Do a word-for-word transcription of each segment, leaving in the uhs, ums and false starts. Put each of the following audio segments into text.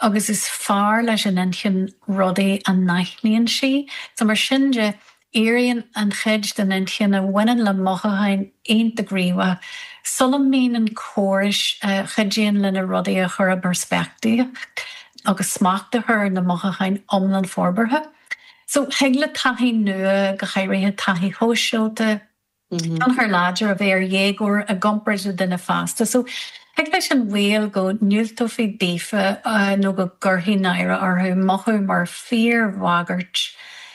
Agus is fearr leis an inchinn rudaí a n-aithníonn sí, so mar sin de éiríonn an chuid den inchinn a bhaineann le mothúcháin iontach gníomhach, sula mbíonn an córas a chuidíonn le na rudaí a chur i bpeirspictíocht agus smacht a chur ar na mothúcháin iomlán forbartha. So thig le taithí nua go háirithe taithí shóisialta, tionchar láidir a bheith ar dhéagóir i gcomparáid le duine fásta. So thig leis an bhaol go ndiúltófaí daofa nó go gcuirfí náire orthu mothú mar fíorbhagairt.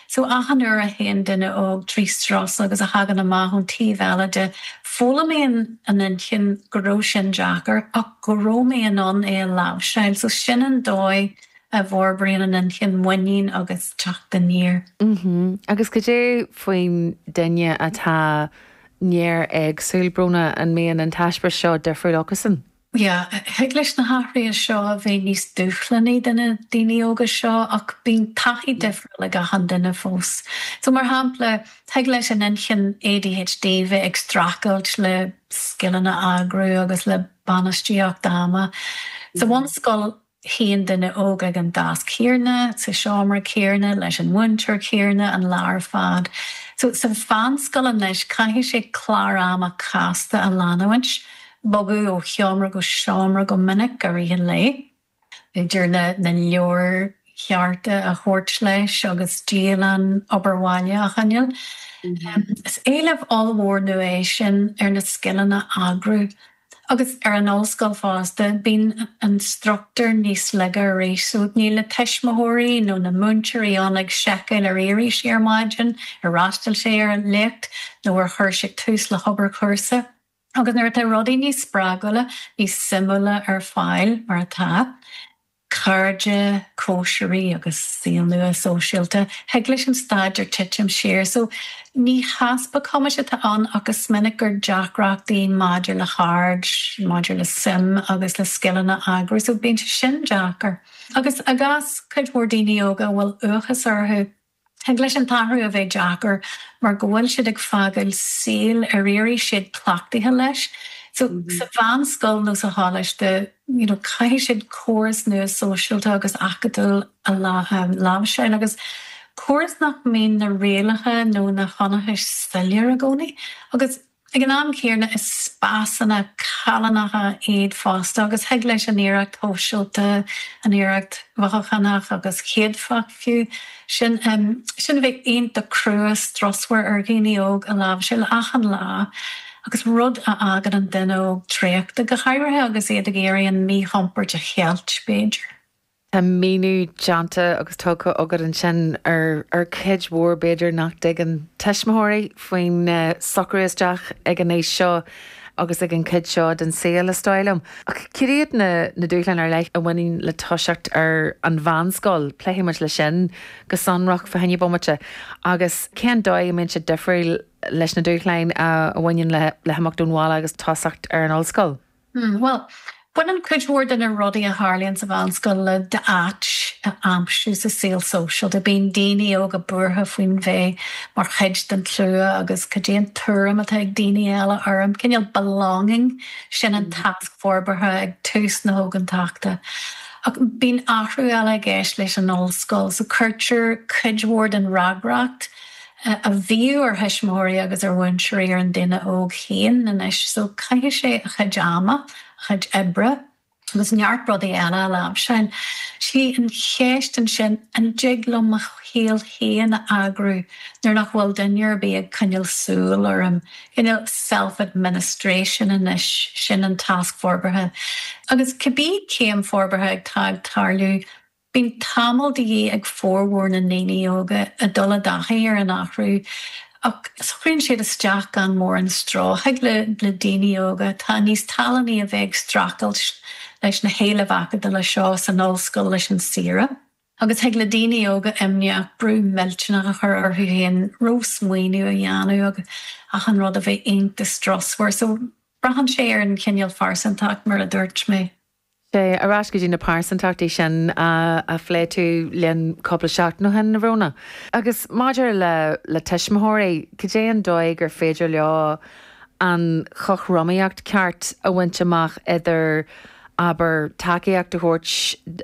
So achan uair a théann duine óg trí strus agus a thagann amach ón taobh eile de foghlaimíonn an inchinn go raibh sin deacair ach go raibh mé in ann é a láimhseáil, so sin an dóigh a bhforbraíonn an inchinn muinín agus teacht aniar. Mm Agus cad é faoin duine atá néar-éagsúil Bróna an mbíonn an t-eispéireas seo difriúil acusan? Yeah, thig leis na hathruithe seo a bheith níos dúshlánaí do na daoine óga seo ach bíonn taithí difriúil ag achan duine fós. So mar shampla, thig leis an inchinn ADHD bheith ag streachailt le scileanna eagrú agus le bainistíocht ama. Sa bhunscoil shuíonn duine óg ag an deasc chéanna, sa seomra céanna leis an múinteoir céanna an lá ar fad. So sa mheánscoil anois caithfidh sé clár ama casta a leanúint, bogadh ó sheomra go seomra go minic i rith an lae. B'fhéidir na na leabhair chearta a thabhairt leis agus dialann obair bhaile a choinneáil. Is éileamh ollmhór nua é sin ar na scileanna eagrú. Agus ar an ollscoil fosta bíonn an struchtúr níos laige arís, so níl na tuismitheoirí nó na múinteoirí ann ag seiceáil ar éirigh sé ar maidin, ar fhreastail sé ar an léacht nó ar chuir sé tús le hobair chúrsa. Agus nuair atá rudaí níos spreagúla, níos suimiúla ar fáil mar atá, cairde, cóisirí agus saol nua sóisialta, thig leis an staidéar titim siar, so ní heaspa cumais atá ann ach is minic gur deacrachtaí maidir le haird, maidir le suim agus le scileanna eagrú, so bíonn sé sin deacair. Agus i gcás cuid mhór daoine óga a bhfuil uathachas orthu, thig leis an t-athrú a bheith deacair mar go bhfuil siad ag fágáil saol ar éirigh siad cleachtaithe leis. So sa mheánscoil nó sa choláiste, you know, caithfidh siad córas nua sóisialta agus acadúil a láimhseáil agus córas nach mbíonn na rialacha nó na hionchais soiléir i gcónaí. Agus ag an am céanna is spásanna callánacha iad fosta agus thig leis an iarracht shóisialta, an iarracht mhothúchánach agus chéadfach fiú sin um, sin a bheith iontach crua strusmhar ar dhaoine óg a láimhseáil achan lá. agus rud a fhágann an duine óg traochta go háirithe agus iad ag iarraidh an míchompord a cheilt b'fhéidir. Tá míniú déanta agus tugtha agat ansin ar ar cuid mhór b'fhéidir nach dtuigeann tuismitheoirí faoin uh, socrú isteach ag an aois seo agus ag an chuid seo den saol is dóigh liom. Ach cad iad na na dúshláin ar leith a bhaineann le toiseacht ar an mheánscoil, pléifimid le sin go sonrach fá choinne bomaite agus cén dóigh a mbíonn sé difriúil leis na dúshláin a bhaineann le le himeacht ón bhaile agus tosacht ar an ollscoil. Hmm, well, Baineann cuid mhór de na rudaí a tharlaíonn sa mheánscoil le d'áit a aimsiú sa saol sóisialta, bíonn daoine óga buartha faoin bheith mar chuid den tslua agus cad é an tuairim atá ag daoine eile orm, cineál belonging sin an tasc forbartha ag tús na hógantachta. Ach bíonn athrú eile i gceist leis an ollscoil, so cuirtear cuid mhór den fhreagracht a bhíodh ar thuismitheoirí agus ar mhúinteoirí ar an duine óg féin anois, so caithfidh sé a chuid ama, a chuid oibre, agus neart rudaí eile a láimhseáil. Sí an cheist ansin an dtig liom mo shaol féin a eagrú nuair nach bhfuil duine ar bith ag coinneáil súil orm, cineál self-administration anois sin an tasc forbartha. Agus cibé céim forbartha atá ag tarlú, Bíonn tamall de dhíth ag formhór na ndaoine óga a dul i dtaithí ar an athrú ach socraíonn siad isteach gan mórán stró thig le le daoine óga atá níos tallannaí a bheith ag streachailt leis na héilimh acadúla seo san ollscoil leis an saoire. Agus thig le daoine óga imníoch brú millteanach a chur orthu féin ró-smaoineamh a dhéanamh agus achan rud a bheith iontach strusmhar, so braitheann sé ar an chineál phearsantacht mar a dúirt mé. Sé ar ais go dtí na pearsantachtaí sin a phléigh tú linn cúpla seachtain ó shin a Bhróna. Agus maidir le le tuismitheoirí, cad é an dóigh gur féidir leo an chothromaíocht ceart a bhaint amach idir abair tacaíocht a thabhairt